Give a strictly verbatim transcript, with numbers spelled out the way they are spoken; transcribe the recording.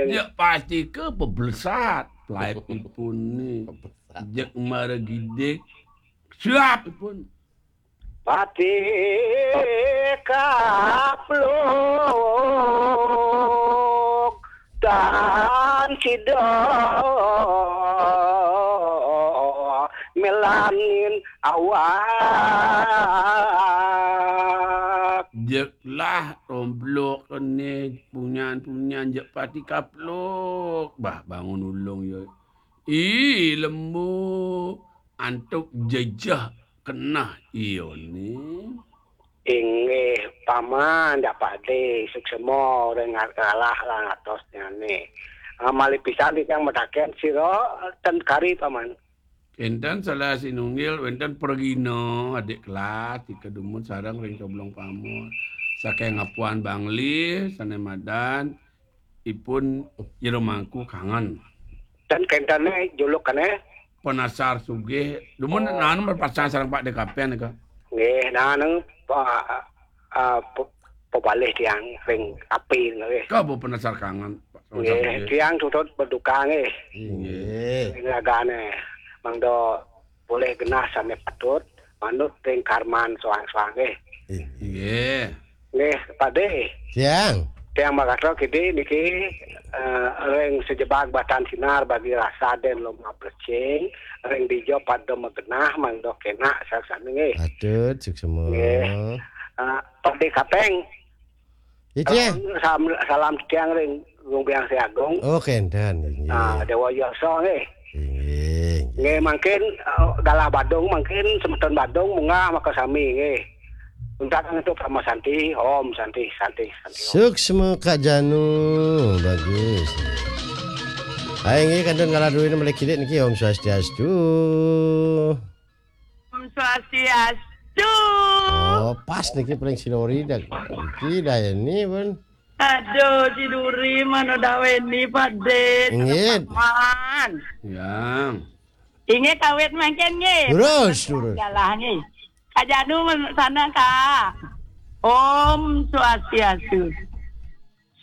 Jek pati ke beblesat, laipipun ni. Jek mara gidik, siap ipun. Pati kapluk tan sida melanin awak. Jek lah romblok kene punyan-punyan jek pati kapluk. Bah, bangun ulung ya. Ih, lembu antuk jejeh kenah iya ni. Inggih, Paman, dak pade, suksema orang nga-, ngalah lah ngatosnya ni. Ah, malih pisan tiang mataken sira ten kari, Paman. Enten salah sinunggil, wenten pragina adik kelas, tika dumun sareng ring Coblong Pamor. Saking Apuan Bangli, sane madan, ipun Jero Mangku Kangen. Ten kentene julukane? Penasar Sugih. Dumun Oh. Nanu berpasangan sareng Pak Dekapian nika. Nggih, nanu pa-, ah, pe-, pebalih tiang ring api nggih. Ka Bu Penasar Kangen, Pak. Nggih, Sugih. Tiang tutut berduka nggih. Inggih. Ring ragane mangda boleh genah sane patut manut ring karman soang-soang nggih. Inggih. Nggih, Pade. Tiang. Tiang Makastra Kidi niki, eh, ring sejebag batan sinar bagi rasa den loma plecing, ring dija pada magenah mangda kenak saksane nggih. Patut, suksema. Nggih. Ah, Pade Kapeng. Ya, Tiang. Salam, salam tiang ring Gung Biang Siagung. Oh, kenten, inggih. Ah, Dewa Yasa nggih. Inggih, inggih. Nggih, mangkin, eh, galah Badung, mangkin semeton Badung munggah maka sami nggih. Untat untuk Parama Santi, Om Santi, Santi, Santi, Om. Suksma Kak Janu, bagus. Hai, inggih, kantun ngalah dulu ini balik kidik niki, Om Swastiastu. Om Swastiastu. Oh, pas niki paling silori dah. Niki dah ini pun. Aduh, si Duri mana dawen ni Pade. Inggih. Man. Yang. Inggih kawit mangkin nggih. Terus, terus. Galah nggih. Kak Janu sana, Kak. Om Swastiastu.